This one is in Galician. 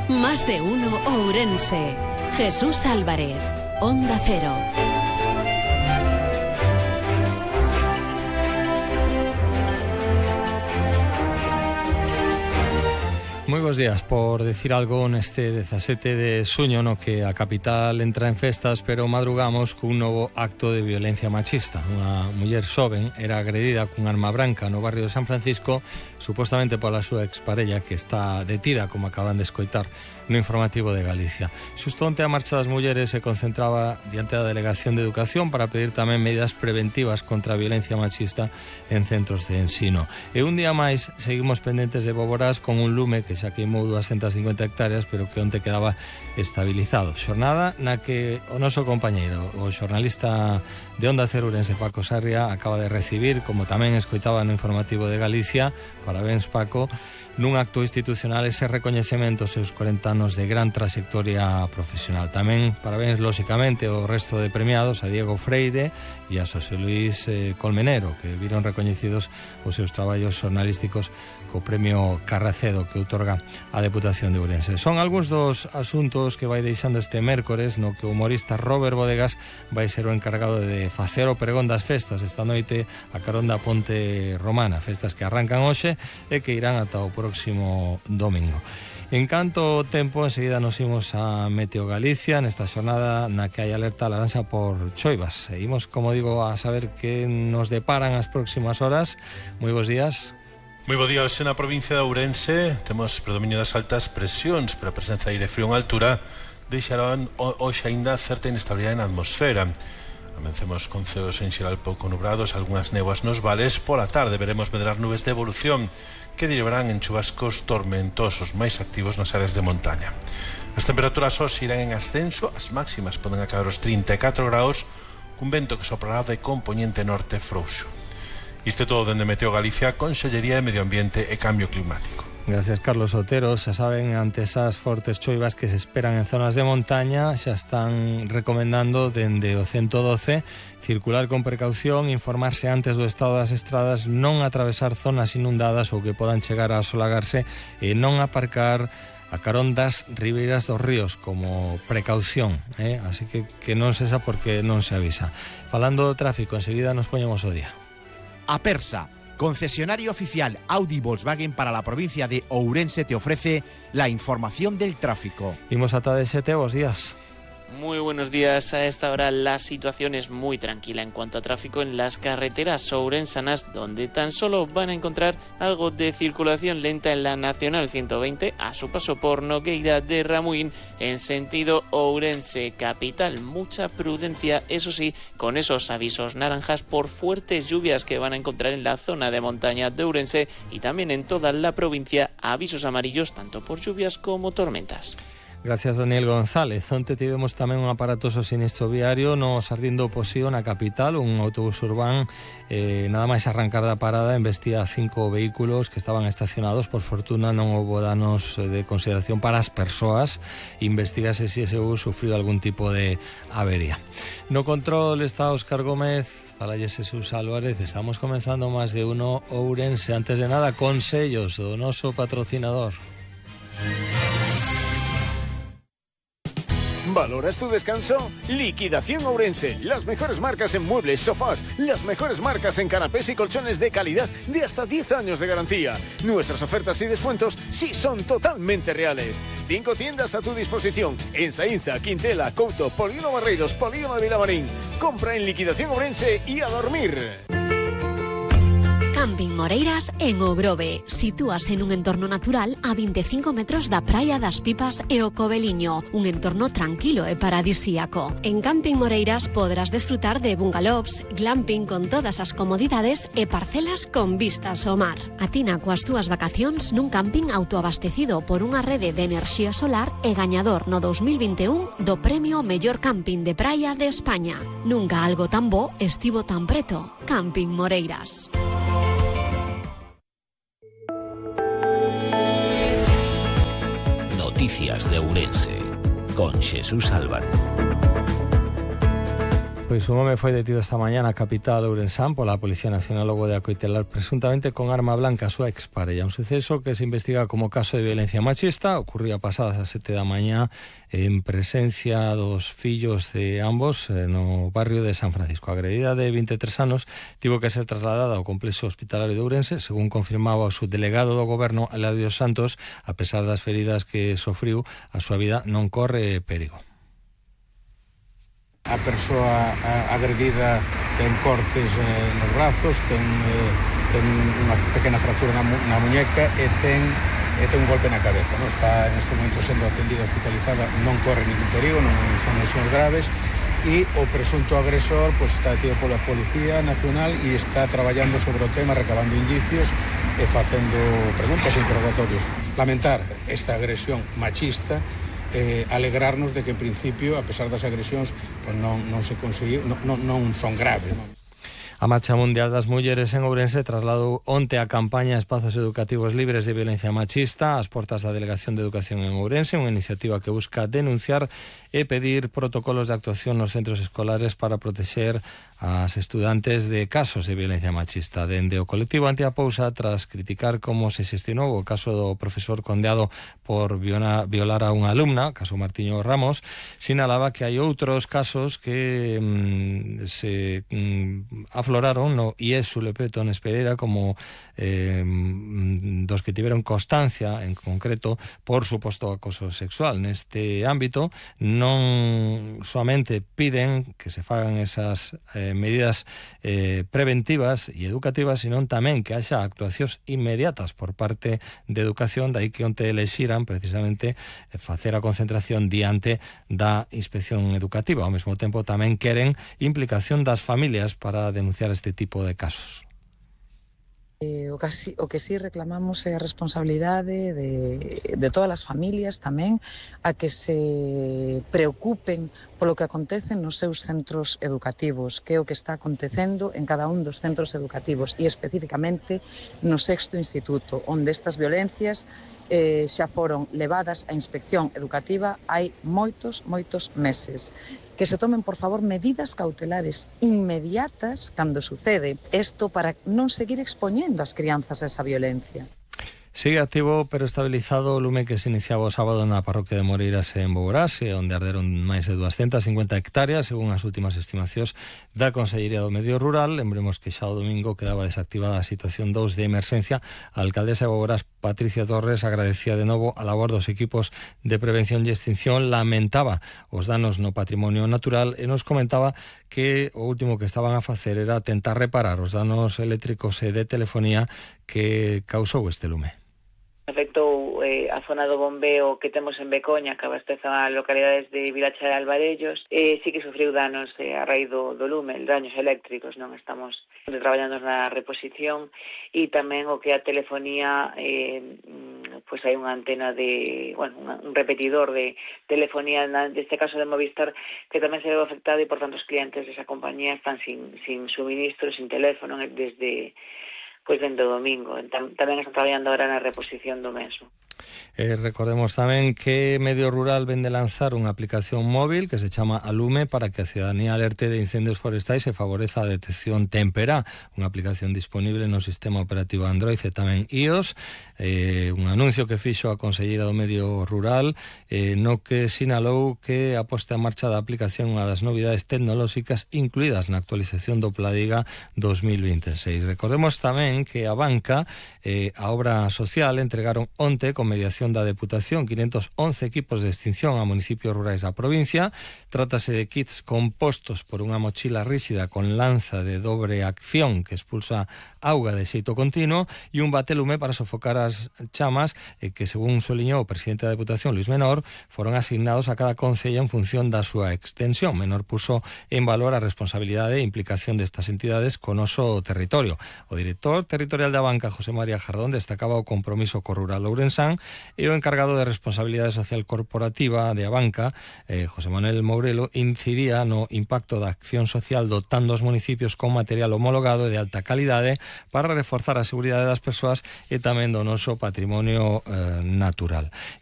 Más de uno Ourense. Jesús Álvarez, Onda Cero. Moi bons días. Por decir algo neste 17 de suño no que a capital entra en festas, pero madrugamos cun novo acto de violencia machista. Unha muller xoven era agredida cun arma branca no barrio de San Francisco, supostamente pola súa exparella, que está detida, como acaban de escoitar no informativo de Galicia. Xusto onte a Marcha das Mulleres se concentraba diante da Delegación de Educación para pedir tamén medidas preventivas contra a violencia machista en centros de ensino. E un día máis seguimos pendentes de Boborás con un lume que xa queimou 250 hectáreas, pero que onte quedaba estabilizado. Xornada na que o noso compañeiro, o xornalista de Onda Cero Ourense, Paco Sarria, acaba de recibir, como tamén escoitaba no informativo de Galicia, parabéns Paco, nun acto institucional ese recoñecemento aos seus 40 anos de gran trayectoria profesional. Tamén parabéns, lóxicamente, ao resto de premiados, a Diego Freire e a Xosé Luis Colmenero, que viron recoñecidos os seus traballos xornalísticos co premio Carracedo que outorga a Deputación de Ourense. Son algúns dos asuntos que vai deixando este mércores, no que o humorista Robert Bodegas vai ser o encargado de facer o pregón das festas esta noite a carón da Ponte Romana, festas que arrancan hoxe e que irán ata o próximo domingo. En canto ao tempo, enseguida nos imos a Meteo Galicia nesta xornada na que hai alerta laranxa por choivas. Seguimos, como digo, a saber que nos deparan as próximas horas. Moi bons días. Moi bo día. Hoxe na provincia de Ourense temos predominio das altas presións, pero a presenza de aire frío en altura deixarán hoxe aínda certa inestabilidade na atmosfera. Amencemos con ceos en xeral pouco nubrados, algunhas néboas nos vales. Pola tarde veremos medrar nubes de evolución que derivarán en chubascos tormentosos máis activos nas áreas de montaña. As temperaturas hoxe irán en ascenso, as máximas poden acabar os 34 graus, cun vento que soprará de compoñente norte frouxo. Isto é todo dende Meteo Galicia, Consellería de Medio Ambiente e Cambio Climático. Gracias, Carlos Otero. Xa saben, ante esas fortes choivas que se esperan en zonas de montaña, xa están recomendando dende o 112 circular con precaución, informarse antes do estado das estradas, non atravesar zonas inundadas ou que podan chegar a asolagarse e non aparcar a carón das ribeiras dos ríos como precaución, así que non se xa porque non se avisa. Falando do tráfico, enseguida nos poñemos o día. Apersa, concesionario oficial Audi Volkswagen para la provincia de Ourense, te ofrece la información del tráfico. Imos ata de 7, bos días. Muy buenos días. A esta hora la situación es muy tranquila en cuanto a tráfico en las carreteras ourensanas, donde tan solo van a encontrar algo de circulación lenta en la Nacional 120 a su paso por Nogueira de Ramuín en sentido Ourense capital. Mucha prudencia, eso sí, con esos avisos naranjas por fuertes lluvias que van a encontrar en la zona de montaña de Ourense y también en toda la provincia, avisos amarillos tanto por lluvias como tormentas. Gracias, Daniel González. Onte tivemos tamén un aparatoso sinistro viario no Sardín do Posío, na capital. Un autobús urbán, nada máis arrancar da parada, embestía 5 vehículos que estaban estacionados. Por fortuna non houbo danos de consideración para as persoas. Investígase se ese bus sufriu algún tipo de avería. No control está Óscar Gómez. Fala Jesús Álvarez. Estamos comenzando Más de uno Ourense. Antes de nada, consellos do noso patrocinador. ¿Valoras tu descanso? Liquidación Ourense. Las mejores marcas en muebles, sofás, las mejores marcas en canapés y colchones de calidad de hasta 10 años de garantía. Nuestras ofertas y descuentos sí son totalmente reales. 5 tiendas a tu disposición en Saínza, Quintela, Couto, Polígono Barreiros, Polígono de Vilamarín. Compra en Liquidación Ourense y a dormir. Camping Moreiras en O Grove. Sitúase en un entorno natural a 25 metros da Praia das Pipas e o Coveliño, un entorno tranquilo e paradisíaco. En Camping Moreiras podrás desfrutar de bungalows, glamping con todas as comodidades e parcelas con vistas ao mar. Atina coas túas vacacións nun camping autoabastecido por unha rede de enerxía solar e gañador no 2021 do Premio Mellor Camping de Praia de España. Nunca algo tan bo estivo tan preto. Camping Moreiras. Noticias de Ourense con Jesús Álvarez. Pois un home foi detido esta mañá na capital ourensán pola Policía Nacional logo de acoitelar presuntamente con arma blanca a súa exparella. Un suceso que se investiga como caso de violencia machista. Ocurría pasadas as 7 da mañá en presencia dos fillos de ambos no barrio de San Francisco. A agredida de 23 anos tivo que ser trasladada ao complexo hospitalario de Ourense, según confirmaba o subdelegado do goberno Eladio Santos. A pesar das feridas que sofriu, a súa vida non corre perigo. A persoa agredida ten cortes nos brazos, ten unha pequena fractura na muñeca e ten un golpe na cabeza. Non está neste momento sendo atendida, hospitalizada, non corre ningún perigo, non son lesións graves, e o presunto agresor está detido pola Policía Nacional e está traballando sobre o tema, recabando indicios e facendo preguntas e interrogatorios. Lamentar esta agresión machista, alegrarnos de que en principio, a pesar das agresións, pues non se conseguiu, non son graves, non? A Marcha Mundial das Mulleres en Ourense trasladou onte a campaña Espazos Educativos Libres de Violencia Machista ás portas da Delegación de Educación en Ourense, unha iniciativa que busca denunciar e pedir protocolos de actuación nos centros escolares para protexer as estudantes de casos de violencia machista. Dende o colectivo Antiapousa, tras criticar como se xestionou o caso do profesor condeado por violar a unha alumna, caso Martiño Ramos, sinalaba que hai outros casos que se afloraron no IESU Lepretón Espereira, como dos que tiveron constancia en concreto por suposto acoso sexual. Neste ámbito non soamente piden que se fagan esas medidas preventivas e educativas, sino tamén que haxa actuacións inmediatas por parte de educación, dai que onte elexiran precisamente facer a concentración diante da inspección educativa. Ao mesmo tempo tamén queren implicación das familias para denunciar este tipo de casos. O que sí reclamamos é a responsabilidade de todas as familias tamén, a que se preocupen polo que acontece nos seus centros educativos, que é o que está acontecendo en cada un dos centros educativos e especificamente no 6º instituto, onde estas violencias xa foron levadas á inspección educativa hai moitos meses. Que se tomen, por favor, medidas cautelares inmediatas cando sucede isto para non seguir expoñendo as crianzas a esa violencia. Sigue activo pero estabilizado o lume que se iniciaba o sábado na parroquia de Moreiras en Boborás, onde arderon máis de 250 hectáreas, según as últimas estimacións da Consellería do Medio Rural. Lembremos que xa o domingo quedaba desactivada a situación 2 de emerxencia. A alcaldesa de Boborás, Patricia Torres, agradecía de novo a labor dos equipos de prevención e extinción, lamentaba os danos no patrimonio natural e nos comentaba que o último que estaban a facer era tentar reparar os danos eléctricos e de telefonía que causou este lume. Afectou a zona do bombeo que temos en Becoña, que abastece a localidades de Vilacha de Alvarellos, sí que sufriu danos a raíz do lume, daños eléctricos, non estamos traballando na reposición, e tamén o que a telefonía, pois hai unha antena de, un repetidor de telefonía, neste caso de Movistar, que tamén se veu afectado, e por tanto os clientes desa compañía están sin suministro, sin teléfono desde o domingo. Tamén están traballando ahora na reposición do mesmo. Recordemos tamén que Medio Rural vende lanzar unha aplicación móvil que se chama Alume para que a cidadanía alerte de incendios forestais e favoreza a detección temperá. Unha aplicación disponible no sistema operativo Android e tamén iOS. Un anuncio que fixo a Conselleira do Medio Rural, no que sinalou que a posta en marcha da aplicación unha das novidades tecnolóxicas incluídas na actualización do Pladiga 2026. Recordemos tamén que a banca, a obra social, entregaron onte con mediación da Deputación 511 equipos de extinción a municipios rurais da provincia. Trátase de kits compostos por unha mochila ríxida con lanza de dobre acción que expulsa auga de xeito continuo e un batelume para sofocar as chamas que, según soliñou o presidente da Deputación, Luis Menor, foron asignados a cada concello en función da súa extensión. Menor puso en valor a responsabilidade e implicación destas entidades con oso territorio. O director territorial da banca, José María Jardón, destacaba o compromiso co rural ourensán, e o encargado de responsabilidade social corporativa de a banca, José Manuel Mourelo, incidía no impacto da acción social dotando os municipios con material homologado e de alta calidade para reforzar a seguridade das persoas e tamén do noso patrimonio natural.